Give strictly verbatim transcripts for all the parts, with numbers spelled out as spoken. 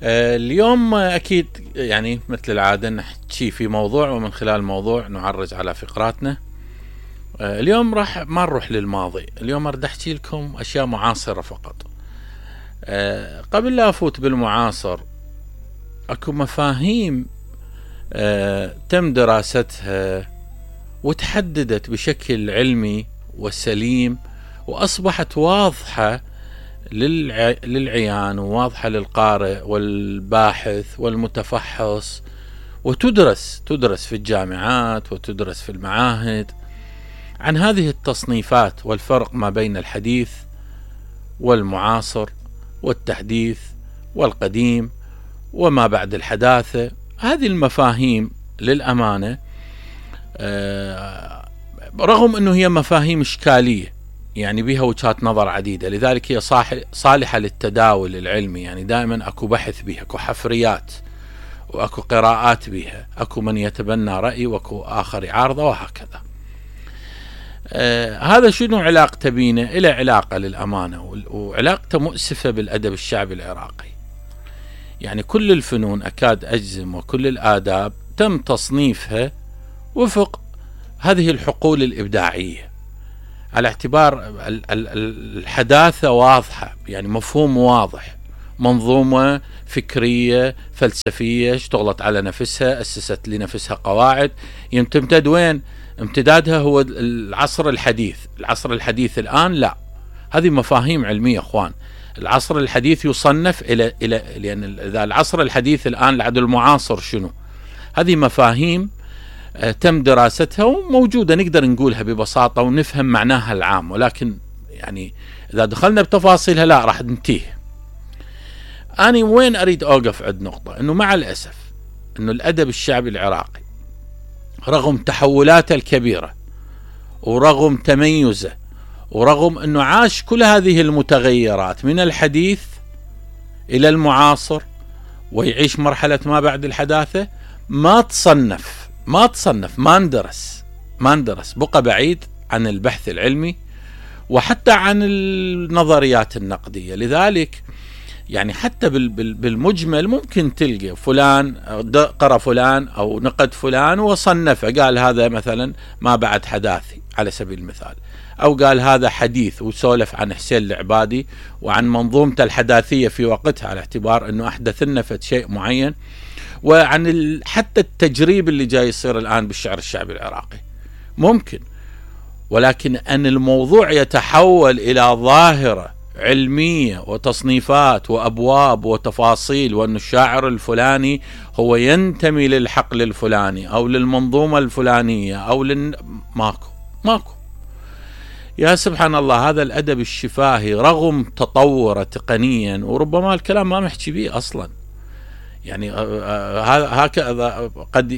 اليوم أكيد يعني مثل العادة نحكي في موضوع، ومن خلال الموضوع نعرج على فقراتنا. اليوم راح ما نروح للماضي، اليوم أريد أحكي لكم أشياء معاصرة فقط. قبل لا أفوت بالمعاصر، أكو مفاهيم تم دراستها وتحددت بشكل علمي وسليم، وأصبحت واضحة للعيان وواضحة للقارئ والباحث والمتفحص، وتدرس تدرس في الجامعات وتدرس في المعاهد. عن هذه التصنيفات والفرق ما بين الحديث والمعاصر والتحديث والقديم وما بعد الحداثة، هذه المفاهيم للأمانة رغم أنه هي مفاهيم إشكالية، يعني بها وجهات نظر عديدة، لذلك هي صالحة للتداول العلمي. يعني دائما أكو بحث بها، أكو حفريات وأكو قراءات بها، أكو من يتبنى رأي وأكو آخر يعارضه وهكذا. آه هذا شنو علاقته بينا؟ إلى علاقة للأمانة، وعلاقته مؤسفة بالأدب الشعبي العراقي. يعني كل الفنون أكاد أجزم وكل الآداب تم تصنيفها وفق هذه الحقول الإبداعية، على اعتبار الحداثة واضحة، يعني مفهوم واضح، منظومة فكرية فلسفية اشتغلت على نفسها، أسست لنفسها قواعد، يمتد وين؟ امتدادها هو العصر الحديث. العصر الحديث الآن لا، هذه مفاهيم علمية اخوان. العصر الحديث يصنف إلى إلى لأن إذا العصر الحديث الآن لعد المعاصر شنو؟ هذه مفاهيم تم دراستها وموجودة، نقدر نقولها ببساطة ونفهم معناها العام، ولكن يعني إذا دخلنا بتفاصيلها لا راح ننتهي. أنا وين أريد أوقف عند نقطة، أنه مع الأسف أنه الأدب الشعبي العراقي رغم تحولاته الكبيرة ورغم تميزه ورغم أنه عاش كل هذه المتغيرات من الحديث إلى المعاصر ويعيش مرحلة ما بعد الحداثة، ما تصنف ما تصنف ما ندرس ما ندرس بقى بعيد عن البحث العلمي وحتى عن النظريات النقدية. لذلك يعني حتى بالمجمل ممكن تلقى فلان قرأ فلان أو نقد فلان وصنفه، قال هذا مثلا ما بعد حداثي على سبيل المثال، أو قال هذا حديث وسولف عن حسين العبادي وعن منظومته الحداثية في وقتها، على اعتبار أنه أحدث لنا شيء معين، وعن حتى التجريب اللي جاي يصير الآن بالشعر الشعبي العراقي ممكن. ولكن أن الموضوع يتحول إلى ظاهرة علمية وتصنيفات وأبواب وتفاصيل، وأن الشاعر الفلاني هو ينتمي للحقل الفلاني أو للمنظومة الفلانية أو لل... ماكو ماكو يا سبحان الله. هذا الأدب الشفاهي رغم تطوره تقنيا، وربما الكلام ما محكي به أصلا، يعني هكذا قد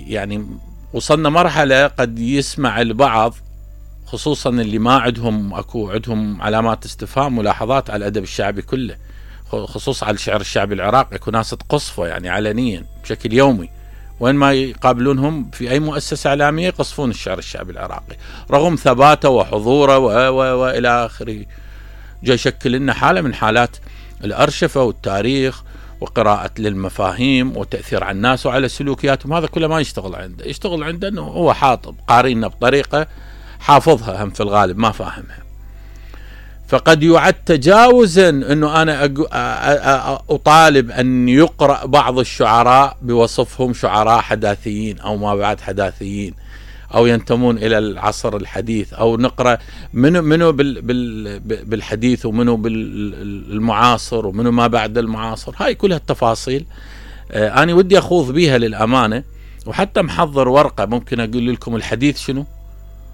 يعني وصلنا مرحلة قد يسمع البعض، خصوصا اللي ما عندهم اكو عندهم علامات استفهام ملاحظات على الادب الشعبي كله، خصوصا على الشعر الشعبي العراقي، اكو ناس تقصفه يعني علنيا بشكل يومي، وين ما يقابلونهم في اي مؤسسة اعلامية يقصفون الشعر الشعبي العراقي رغم ثباته وحضوره والى اخره. جاي يشكل لنا حالة من حالات الارشفة والتاريخ وقراءة للمفاهيم وتأثير على الناس وعلى سلوكياتهم، هذا كله ما يشتغل عنده. يشتغل عنده انه هو حاطب قارينا بطريقة حافظها هم في الغالب ما فاهمها، فقد يعد تجاوزا انه انا اطالب ان يقرأ بعض الشعراء بوصفهم شعراء حداثيين او ما بعد حداثيين او ينتمون الى العصر الحديث، او نقرأ منو منو بالحديث ومنو بالمعاصر ومنو ما بعد المعاصر. هاي كلها التفاصيل انا ودي اخوض بيها للامانة، وحتى محضر ورقة ممكن اقول لكم الحديث شنو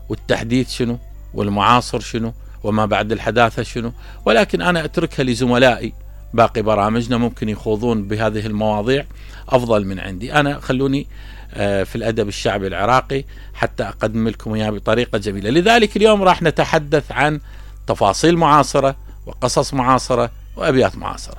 والتحديث شنو والمعاصر شنو وما بعد الحداثة شنو، ولكن أنا أتركها لزملائي باقي برامجنا ممكن يخوضون بهذه المواضيع أفضل من عندي. أنا خلوني في الأدب الشعبي العراقي حتى أقدم لكم إياه بطريقة جميلة. لذلك اليوم راح نتحدث عن تفاصيل معاصرة وقصص معاصرة وأبيات معاصرة.